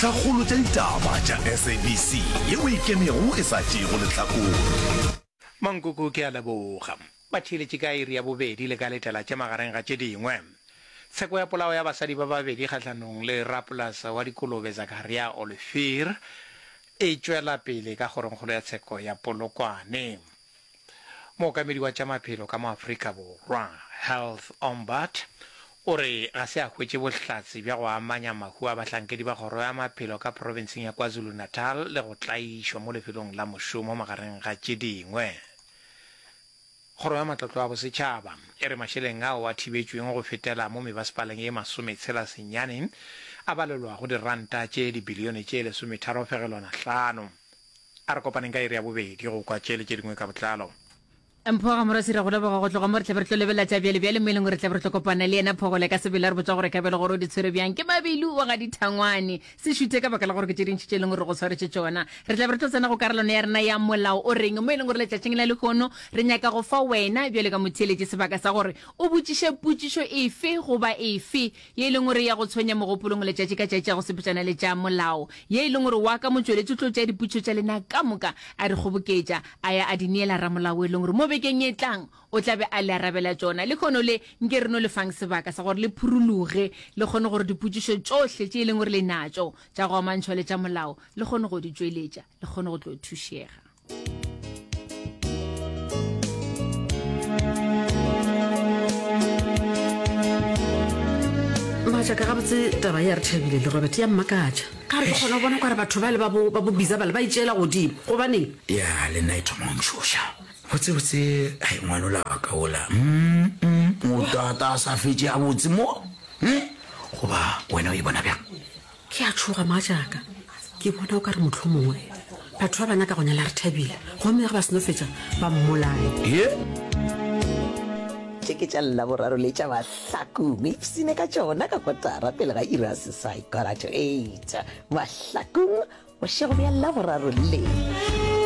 Dintlhakgolo tša ditaba tša SABC yeo e ikemego e sa tšeego lehlakore. Mankoko ke a leboga. Ba theeletše ka iri ya bobedi le ka letela tše magareng ga tše dingwe. Tsheko ya polao ya basadi ba babedi kgahlanong le rapolasa wa dikolobe Zakaria Olivier e tšwela pele ka kgorongkgolo ya tsheko ya Polokwane. Mookamedi wa tša maphelo ka mo Afrika Borwa, Health Ombud, o re ga se a hwetše bohlatse bja go amanya mahu a bahlankedi ba kgoro ya maphelo ka profenseng ya KwaZulu-Natal le go tlaišwa mo lefelong la mošomo magareng ga tše dingwe. Kgoro ya Matlotlo a Bosetšhaba e re mašeleng ao a thibetšweng go fetela mo mebasepaleng ye masometshela senyane a balelwa go diranta tše dibilione tše lesometharo fegelwana hlano. A re kopaneng ka iri ya bobedi go kwa tše le tše dingwe ka botlalo. Mpho Gamorasi, re go leboga go tloga mo re tla be re tlo lebelela tša bjale bjale mo e leng gore re tla be re tlo kopana le yena Phogole ka sebele a re botša gore ka bjale gore o di tshwere bjang. Ke Mabilu wa ga Dithangwane. Se šuthe ka baka la gore ke tše dintši tše e leng gore re go tshwaretše tšona. Re tla be re tlo tsena go karolwana ya rena ya Molao o Reng mo e leng gore letšatšing la lehono re nyaka go fa wena bjale ka motheeletši sebaka sa gore o botšiše potšišo efe goba efe ye e leng gore ya go tshwenya mogopolong letšatši ka tšatši ya go sepetšana le tša molao, ye e leng gore wa ka motšweletši o tlo tšea dipotšišo tša lena ka moka a di kgoboketša, a ya a di neela ramolao e leng gore mo bekeng e tlang o tla be a le arabela tšona. Lehono le, nke re no le fang sebaka sa gore le phuruluge, le kgone gore dipotšišo tšohle tše e leng gore le natšo tša go amantšhwa le tša molao, le kgone go di tšweletša, le kgone go tlo thušega. Mogatšaka gabotse taba ya re thabile le Robert ya mmakatša ka re ke kgona go bona kare batho ba le ba bo ba bo bisa bale ba itšeela godimo gobaneng ya le nna e thoma go ntšhoša botsebotse ai ngwanola wa ka ola mm, mm, o tata a sa fetše a botse mo mm? goba wena o e bona bjang Ke a tšhoga, mogatšaka. Ke bona o ka re mohlomongwe batho ba ba nyaka go nyala Rethabile, gomme ge ba seno fetša ba mmolaye. Ye! Tše ke tša Laboraro le tša Mahlakong. Ipsine ka tšona ka kotara pele ga iri ya seswai, quarter to eight. Mahlakong, bošego bja Laboraro le.